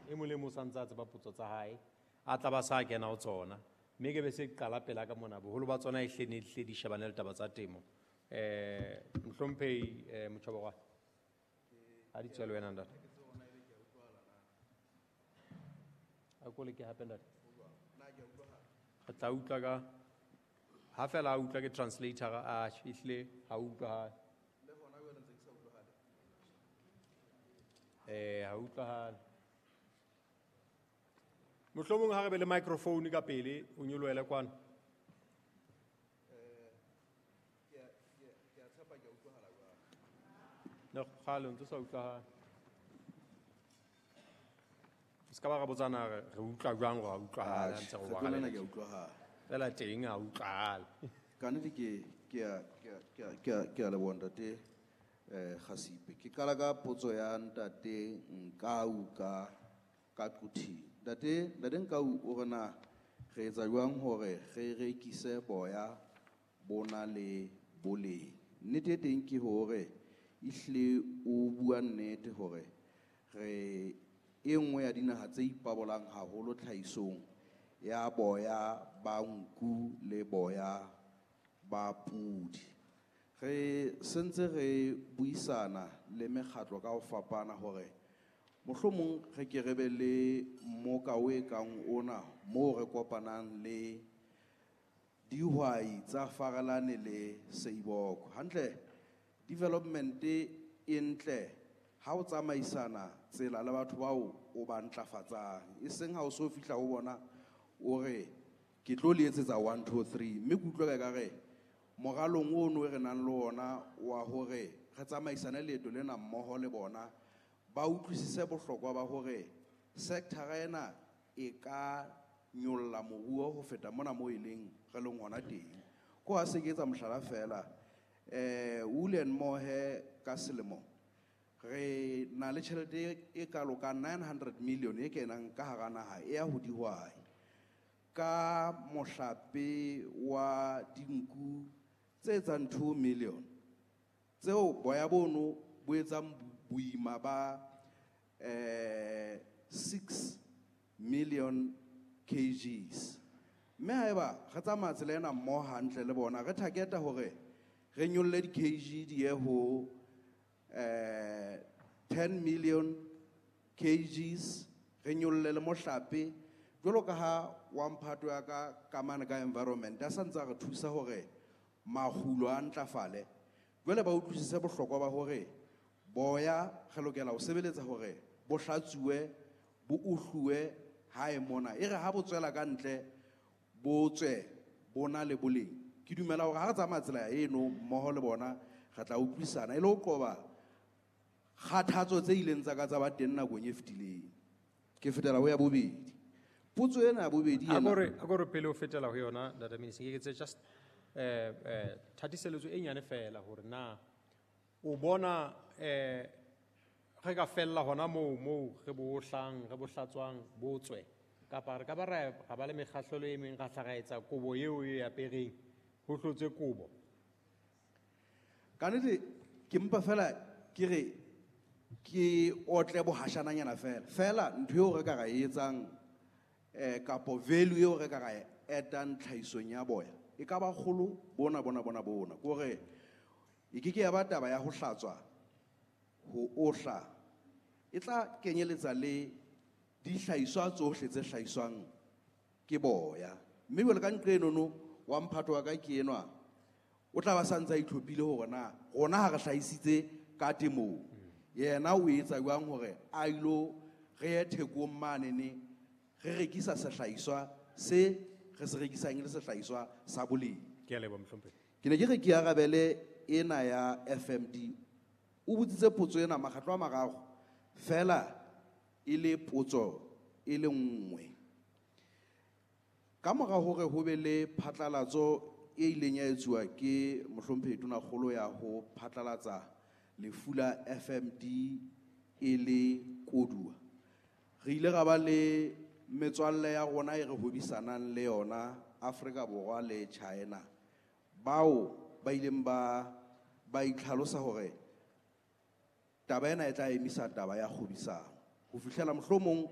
E mong le mong o sa ntse a tseba potso tsa hae, a tla ba sa kena ho tsona. Mme ke be se qala pela ka mona, boholo ba tsona e hle ne hle di shebane le taba tsa temo. Mohlomphehi Motjhobokoane, ha di tswele wena ntate. A ko leke hape ntate. Re tla utlwa ka ha fela a utlwa ke translator a ehlile ha utlwahale. Ha utlwahale. Mohlomong ha re be le microphone ka pele o nyolohele kwano. Ne kgale o ntso sa utlwahale. Se ka ba ra botsana re utlwa jwang hore ha utlwahale, ha ntse re Atjhe, bua kgetlo lena ka ke a utlwahala. Fela teng ha utlwahale. Ka nnete ke a leboha ntate Khasipe. Ke qala ka potso ya ntate Nkau ka Quthing. Ntate Nkau o re na re etsa jwang hore re rekise boya bona le boleng. Nnete e teng ke hore ehlile o bua nnete hore re e nngwe ya dinaha tse ipabolang haholo tlhahisong ya boya ba nku le boya ba pudi. Re sentse re buisana le mekgatlo ka ho fapana hore mohlomong re ke re be le mmoka o e kang ona moo re kopanang le dihwai tsa Farelane le Seiboko. Hantle development e ntle ha o tsamaisana tsela le batho bao o ba ntlafatsang, e seng ha o so fihla ho bona o re ke tlo le etsetsa 1 2 3, mme ke utlwa ka re moralong ono e re nang le ona wa hore re tsamaisane leeto lena mmoho le bona ba utlwisise bohlokwa ba hore sector ena e ka nyolla moruo ho feta mona moo e leng re leng hona teng. Ko ha se ke etsa mohlala fela, Wool and Mohair ka selemo re na le tjhelete e kalo ka 900 million e kenang ka hara naha e ya ho dihwai. Ka mohlape wa dinku tse etsang 2 million, tseo boya bono bo etsang boima ba 6 million kgs. Mme haeba re tsamaya tsela ena mmoho hantle le bona, re targeta hore re nyolle di kg di ye ho 10 million kgs, re nyolle le mohlape jwalo ka ha wa mphato ya ka ka mane ka environment a sa ntse a re thusa hore makgulo a ntlafale. Jwale ba utlwisise bohlokwa ba hore boya re lokela ho sebeletsa hore bo hlatsuwe, bo uhluwe hae mona. E re ha bo tswela ka ntle, bo tswe bo na le boleng. Ke dumela hore ha re tsamaya tsela eno mmoho le bona, re tla utlwisisana e le ho qoba kgathatso tse ileng tsa ka tsa ba teng nakong e fetileng. Ke fetela ho ya bobedi. Potso ena ya bobedi A ena- ko re pele o fetela ho yona, Ntate Minister, ke etse just thatiseletso e nyane fela hore na o bona re ka fella hona moo re bo hlang, re bo hlatswang, bo tswe, kapa re ka ba ra ba le mekgahlelo e meng ra hla ra etsa kobo eo e apereng, ho hlotswe kobo. Ka nnete ke mpa fela ke re ke otle bohashananyana fela. Fela ntho eo re ka ra e etsang, kapo value eo re ka ra e etang tlhahisong ya boya e ka ba kgolo bona, bona, bona, bona. Ke hore e ke ke ya ba taba ya ho hlatswa, ho ohla, e tla kenyeletsa le dihlahiswa tsohle tse hlahiswang ke boya. Mme jwale ka nqe enono wa mphato wa ka ke enwa, o tla ba sa ntse a itlhophile hore na rona ha re hlahisitse ka temong, yena o etsa jwang hore a ilo re ye thekong manene re rekisa sehlahiswa se re se rekisang e le sehlahiswa sa boleng. Ke a leboha, mohlomphehi. Ke ne ke re ke arabele ena ya FMD. O botsitse potso ena makgetlo a mararo fela e le potso e le nngwe. Ka mora hore ho be le phatlalatso e ileng ya etsuwa ke mohlomphehi Tonakgolo ya ho phatlalatsa lefu la FMD e le koduwa, re ile ra ba le metswalle ya rona e re hwebisanang le yona Afrika Borwa le China, bao ba ileng ba itlhalosa hore taba ena e tla emisa taba ya kgwebisano ho fihlela mohlomong